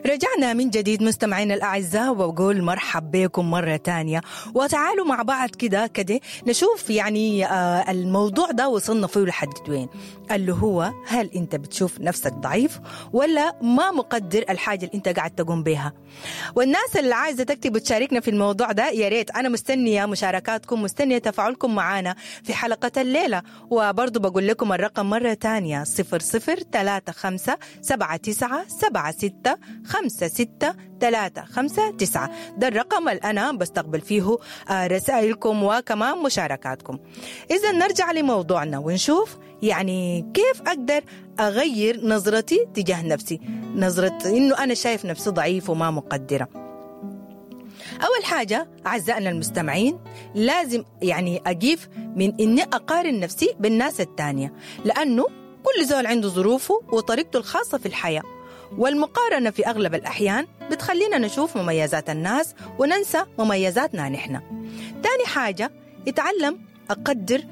رجعنا من جديد مستمعينا الأعزاء، وبقول مرحب بكم مرة تانية، وتعالوا مع بعض كده كده نشوف يعني الموضوع ده وصلنا فيه لحد وين، اللي هو هل أنت بتشوف نفسك ضعيف ولا ما مقدر الحاجة اللي أنت قاعد تقوم بها؟ والناس اللي عايزة تكتب وتشاركنا في الموضوع ده يا ريت، أنا مستنية مشاركاتكم، مستنية تفاعلكم معانا في حلقة الليلة. وبرضو بقول لكم الرقم مرة تانية 0035 79 76 5 6 3 5 9، ده الرقم اللي أنا بستقبل فيه رسائلكم وكمان مشاركاتكم. إذا نرجع لموضوعنا ونشوف يعني كيف أقدر أغير نظرتي تجاه نفسي، نظرة إنه أنا شايف نفسي ضعيف وما مقدرة. أول حاجة أعزائنا المستمعين، لازم يعني أقيف من إني أقارن نفسي بالناس التانية، لأنه كل زول عنده ظروفه وطريقته الخاصة في الحياة، والمقارنة في أغلب الأحيان بتخلينا نشوف مميزات الناس وننسى مميزاتنا نحن. تاني حاجة، اتعلم أقدر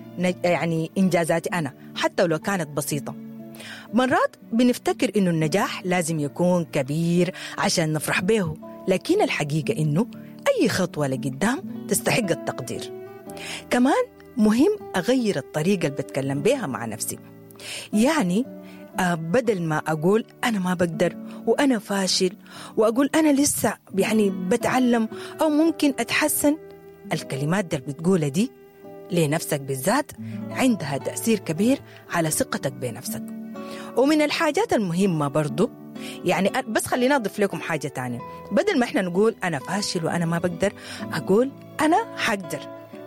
يعني إنجازاتي أنا حتى لو كانت بسيطة. مرات بنفتكر إنه النجاح لازم يكون كبير عشان نفرح به، لكن الحقيقة إنه أي خطوة لقدام تستحق التقدير. كمان مهم أغير الطريقة اللي بتكلم بيها مع نفسي، يعني بدل ما أقول أنا ما بقدر وأنا فاشل، وأقول أنا لسه يعني بتعلم أو ممكن أتحسن، الكلمات دي اللي بتقولها دي لنفسك بالذات عندها تأثير كبير على ثقتك بنفسك. ومن الحاجات المهمة برضو يعني بس خلينا أضيف لكم حاجة تانية، بدل ما إحنا نقول أنا فاشل وأنا ما بقدر، أقول أنا حقدر،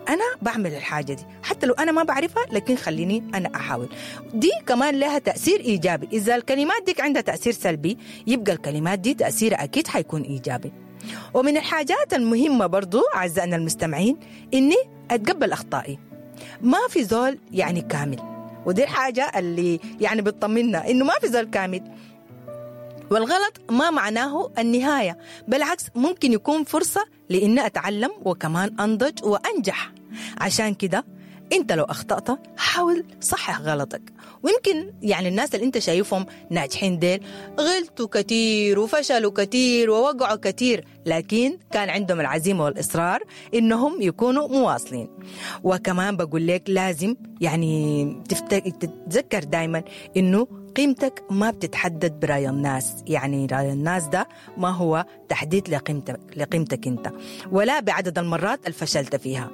أنا بعمل الحاجة دي حتى لو أنا ما بعرفها، لكن خليني أنا أحاول. دي كمان لها تأثير إيجابي. إذا الكلمات ديك عندها تأثير سلبي، يبقى الكلمات دي تأثيرها أكيد حيكون إيجابي. ومن الحاجات المهمة برضو أعزائنا المستمعين إني أتقبل أخطائي. ما في زول يعني كامل، ودي الحاجة اللي يعني بتطمنا إنه ما في زول كامل، والغلط ما معناه النهاية، بالعكس ممكن يكون فرصة لإني أتعلم وكمان أنضج وأنجح. عشان كده أنت لو أخطأت حاول صحح غلطك. ويمكن يعني الناس اللي أنت شايفهم ناجحين ديل غلطوا كتير وفشلوا كتير ووقعوا كتير، لكن كان عندهم العزيمة والإصرار إنهم يكونوا مواصلين. وكمان بقول لك لازم يعني تتذكر دايما إنه قيمتك ما بتتحدد برأي الناس، يعني رأي الناس ده ما هو تحديد لقيمتك أنت، ولا بعدد المرات اللي فشلت فيها.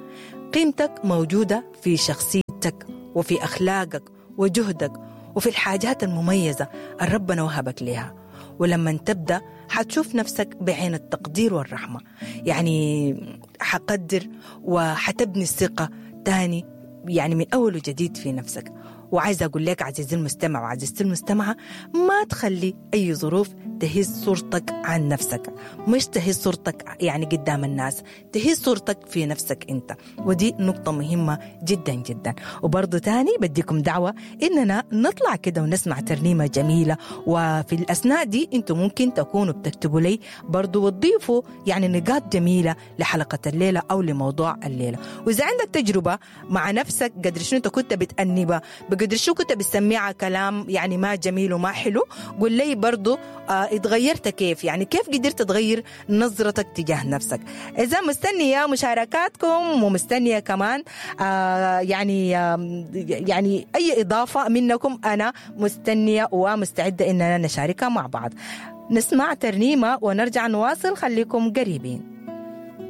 قيمتك موجودة في شخصيتك وفي أخلاقك وجهدك وفي الحاجات المميزة اللي ربنا وهبك لها. ولما تبدأ حتشوف نفسك بعين التقدير والرحمة، يعني حقدر وحتبني الثقة تاني يعني من أول وجديد في نفسك. وعايزة أقول لك عزيزي المستمع وعزيزتي المستمعة، ما تخلي أي ظروف تهز صورتك عن نفسك، مش تهز صورتك يعني قدام الناس، تهز صورتك في نفسك أنت، ودي نقطة مهمة جدا جدا. وبرضو تاني بديكم دعوة إننا نطلع كده ونسمع ترنيمة جميلة، وفي الأثناء دي أنتم ممكن تكونوا بتكتبوا لي برضو وتضيفوا يعني نقاط جميلة لحلقة الليلة أو لموضوع الليلة. وإذا عندك تجربة مع نفسك قدر شنو أنت كنت بتأنبها، بقدر شو كنت بتسمعها كلام يعني ما جميل وما حلو، قول لي برضو اتغيرت كيف، يعني كيف قدرت تغير نظرتك تجاه نفسك. إذا مستنية مشاركاتكم ومستنية كمان يعني أي إضافة منكم، أنا مستنية ومستعدة إننا نشاركها مع بعض. نسمع ترنيمة ونرجع نواصل، خليكم قريبين.